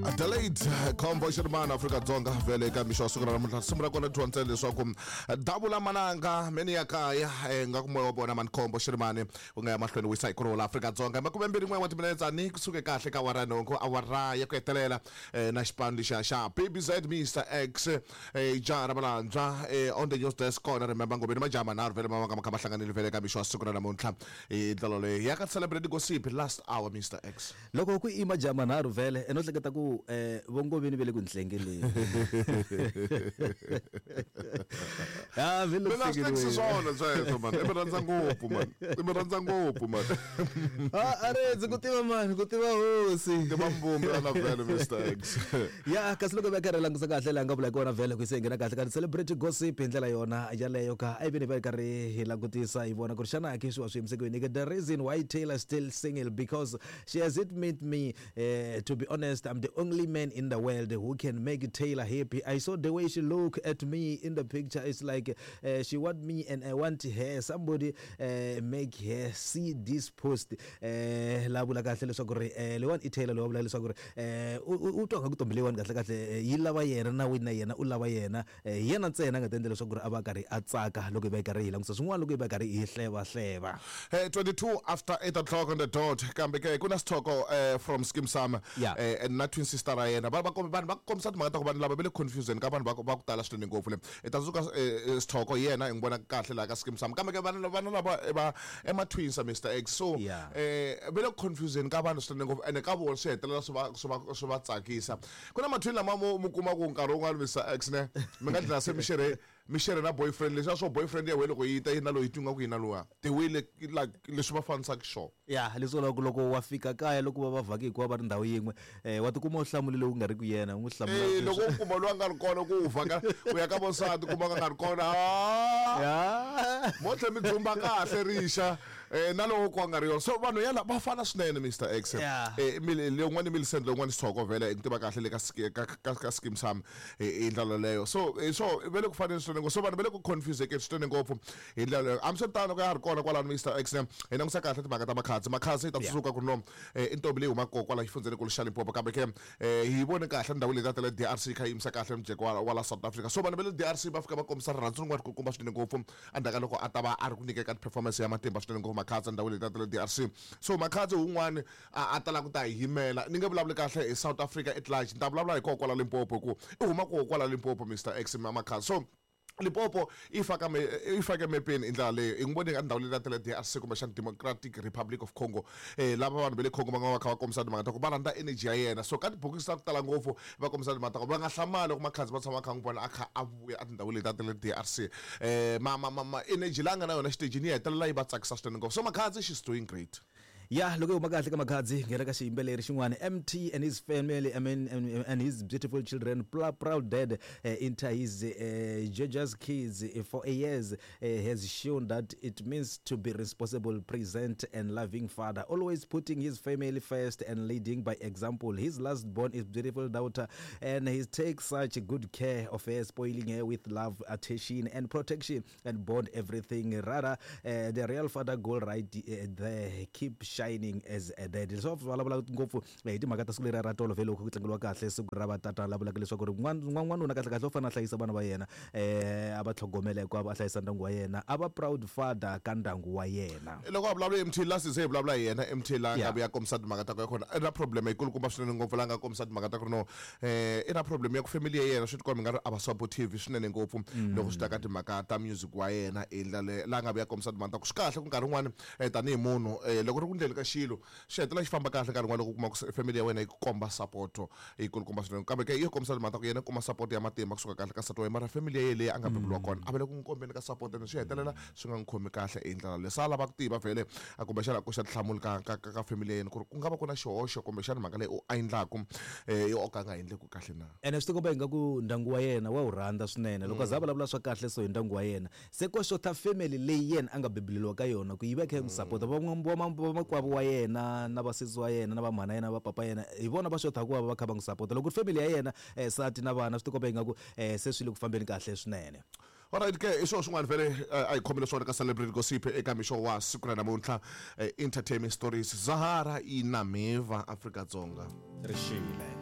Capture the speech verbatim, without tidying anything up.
Adelaide Combo Xirmana Afrika Dzonga vele ka mixo wa siku ra namuntlha risimu ra kona dyondza leswaku davula mananga meni ya kaya nga ku moya wa vona mani Combo Xirmani u nga ya mahlweni wisa ikulu la Afrika Dzonga makume mbirhi n'we wa timinetse ni kusuke kahle ka awara nhungu awara ya ku hetelela na xipano lexiya xa B B Z Mister X jaha ra Malandzwa on the news desk kona remember ngobeni majaha manharhu vele ma nga ma hlanganile vele ka mixo wa siku ra namuntlha hi ndlela leyi ya ka celebrate gossip last hour Mister X loko ku i majaha manharhu vele eno hleketa ku eh vongoveni vele ku nhlengeleni ah vele ku swona sweswo man i mi rhandza ngopfu man i mi rhandza ngopfu man ah are ndzi ku tiva man ku tiva hosi tiva mbumbi ana vele Mister X ya kasi loko va karhi langusa kahle la nga vula kona vele ku se nghena kahle ka celebrity gossip hi ndlela yona yaleyo ka a veni va karhi hi langutisa hi vona ku ri xana ke swi wa swi yimisekweni the reason why Taylor still single because she has admitted me uh, to be honest I'm the only man in the world who can make Taylor happy. I saw the way she look at me in the picture. It's like uh, she want me and I want her. Somebody uh, make her see this post. La vula kahle leswaku ri lewan i Taylor lowa vula leswaku ri u twa nga ku tombi lewan kahle kahle yi lava yena na wina yena u lava yena yena ntsena nga tendela leswaku ri a va karhi a tsaka loko hi va karhi hi langusa swin'wana loko hi va karhi hi hleva hleva. Hey, twenty-two after eight o'clock on the dot kambe ke ku na sithoko from Skeem Saam and na twin sister ra yena va va vanhu va kombisa timhaka ta ku vanhu lava va le confusion ka vanhu va va ku tala swinene ngopfu le i ta tsundzuka sithoko yena hi n'wi vona kahle laha ka Skeem Saam kambe ke vanhu vanhu lava va ema twins Mister X so eh va le confusion ka vanhu swinene ngopfu ene ka vona swi hetelela swi va swi va swi va tsakisa ku na ma-twin lama mu mu kuma ku nkarhi wun'wana Mister X ne mi nga dlina se mi xerhe mi xerhe na boyfriend leswi swo boyfriend ya wena loko yi ta yi na loyi yi nga ku yi na luwa the way like leswi va fanisaka xiswona ya leswi loko loko wa fika kaya loko va va vhaki hikuva va ri ndhawu yin'we eh wa tikuma u hlamulile u nga ri ku yena u n'wi hlamula eh loko u kuma loyi a nga ri kona ku u vhaka u ya ka vosati kuma nga ri kona ya mo tlhe mi dzumba kahle rixa eh na loko ku nga ri yona so vanhu yala va fana swinene Mister X eh leyin'wana Millicent leyin'wana Sithoko vele i tiva kahle le ka ka ka Skeem Saam hi ndlela leyo so so vele ku fanele swinene so vanhu va le ku confuse ke swinene ngopfu hi ndlela leyo hambiswiritano ka ya ri kona kwalano Mister X hi langusa kahle timhaka ta Makhadzi Makhadzi yi ta tsundzuka ku ri no i ntombi leyi humaka kwala xifundzeni xa Limpopo kambe ke hi vone kahle ndhawu leyi ta tele D R C kha yi yimisa kahle mujeko wa wa la South Africa so vanhu va le D R C va fika va kombisa rirhandzu rin'wana ku kumba swinene ngopfu endzhaku ka loko a ta va a ri ku nyikeka performance ya matimba swinene ngopfu Makhadzi ndhawu leyi ta tele D R C so Makhadzi wun'wani a tala ku ta hi yimela ni nge vulavuli kahle hi South Africa at large ni ta vulavula hi koho kwala Limpopo hi ku i huma koho kwala Limpopo Mister X Makhadzi so Limpopo i faka me i fake mepeni hi ndlela leyo hi n'wi vone ka ndhawu leyi ta tele D R C kumbexana Democratic Republic of Congo eh lava vanhu va le Congo va nga va kha va kombisa timhaka ta ku va rhandza energy ya yena so ka tibokisi ta ku tala ngopfu va kombisa timhaka ta ku va nga hlamali loko Makhadzi va tshama va kha n'wi vona a kha a vuya etindhawini leti ta tele D R C eh ma ma ma energy leyi a nga na yona xitejini yi hetelela yi va tsakisa swinene ngopfu so Makhadzi she's doing great. Ya loko hi huma kahle ka Makhadzi nghena ka xiyimbeleri xin'wana M T and his family I mean and, and his beautiful children proud dad uh, into his uh, Georgia's kids uh, for years uh, has shown that it means to be responsible, present and loving father, always putting his family first and leading by example. His last born is beautiful daughter and he takes such good care of her, spoiling her with love, attention and protection and bond everything. Rather uh, the real father goal right uh, there keep shining as a dad. So vulavula ngopfu hi timhaka ta siku leri ra tolo vele loko ku tlangeriwa kahle siku ra vatata la vulaka leswaku ri n'wanuna kahle kahle u fanele a hlayisa vana va yena eh a va tlhogomela hikuva a hlayisa ndyangu wa yena a va proud father ka ndyangu wa yena. Loko a vulavula M T last se hi vulavula hi yena M T la nga vuya kombisa timhaka ta ku ya kona i na problem yikulukumba swinene ngopfu la nga kombisa timhaka ta ku ri no eh i na problem ya ku family ya yena swi tikomba nga ri a va supportive swinene ngopfu loko swi ta ka timhaka ta music wa yena i ndlela la nga vuya kombisa timhaka ta ku swi kahle ku nkarhi wun'wani tanihi munhu loko ri ku ndleni ka xilo xi hetelela xi famba kahle nkarhi wun'wana loko u kuma ku family ya wena yi ku komba support yi kulukumba swinene kambe ke yi kombisa timhaka ta ku yena kuma support ya matimba kusuka kahle ka nsati wa yena mara family ya yena leyi a nga beburiwa kona a va le ku n'wi kombeni ka support ene swi hetelela swi nga n'wi khomi kahle hi ndlela leyi se a lava ku tiva vhele a kumbexana a koxa tinhlamulo ka ka ka family ya yena ku ri ku nga va ku na xihoxo kumbexana mhaka leyi u a endlaku eh yo ka nga endleku kahle na ene swi tikomba ingaku ndyangu wa yena wa wu rhandza swinene loko a za vulavula swa kahle so hi ndyangu wa yena se ko xota family leyi yena a nga bebuleliwa ka yona ku yi va kha yi n'wi support vamakwavo wa yena na vasesi wa yena na vamhana yena va papa yena hi vona va xotaka ku va va kha va n'wi support loko family ya yena nsati na vana swi tikomba ingaku se swi le ku fambeni kahle swinene. Alright ke i swilo swin'wana vele a hi khomile swona ka Celebrity Gossip eka mixo wa siku ra namuntlha entertainment stories Zahara i na Meva Afrika Dzonga rixile.